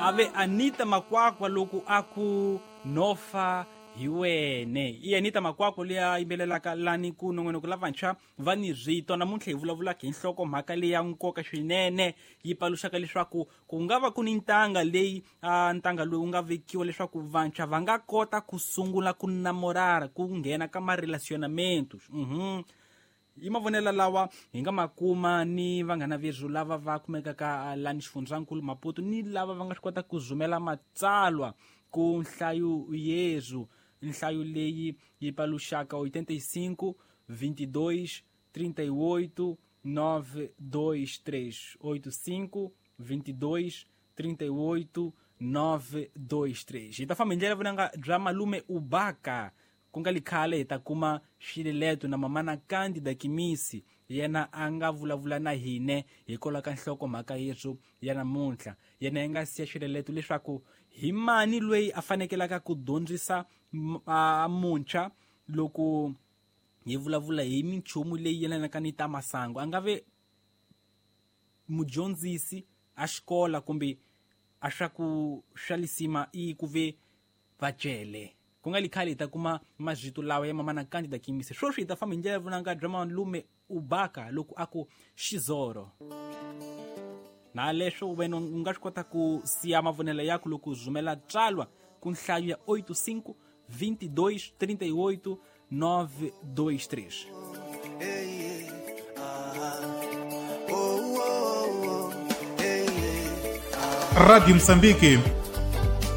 Ave Anita Makwakwa loko a ku nofa hi wene. I Anita Makwakwa leyi a yimbelelaka lani ku nongonoko lavantshwa va ni rito. Namuntlha hi vulavulaka hi nhlokomhaka leyi ya nkoka swinene, yi paluxaka leswaku ku nga va ku ni ntanga leyi ntanga lowu nga vekiwa leswaku vantshwa va nga kota ku sungula ku namorara, ku nghena ka marelacionamentos. I mavonelo lawa hi nga ma kuma ni vanghana verhu lava va kumekaka lani xifundzankulu Maputo, ni lava va nga swi kota ku zumela matsalwa ku nhlayo yezu, nhlayo leyi yi paluxaka 85 22 38 923, 85 22 38 923. Hi ta famba hi ndlela vunanga bya malume Ubaka, ku nga li khale hi ta kuma xileleto na mamana Candida Kimisi, yena a nga vulavula na hine hikwalaho ka nhlokomhaka yesu ya namuntlha. Yena yi nga siya xileleto leswaku hi mani loyi a fanekelaka ku dyondzisa muntshwa loko hi vulavula hi minchumu leyi yelanaka ni ta masangu, a nga ve mudyondzisi a xikola kumbe a swa ku swa lisima i ku ve vacele. Ku nga li khale hi ta kuma mazito lawa ya mamana Candida Kimisi. Sweswi hi ta famba hi ndlela vunanga bya malume Ubaka loko a ku xizoro. Na leswo wena u nga swi kota ku siya mavonelo yaku loko u zumela tsalwa ku nhlayo ya 85 22 38 923. Rádio Moçambique.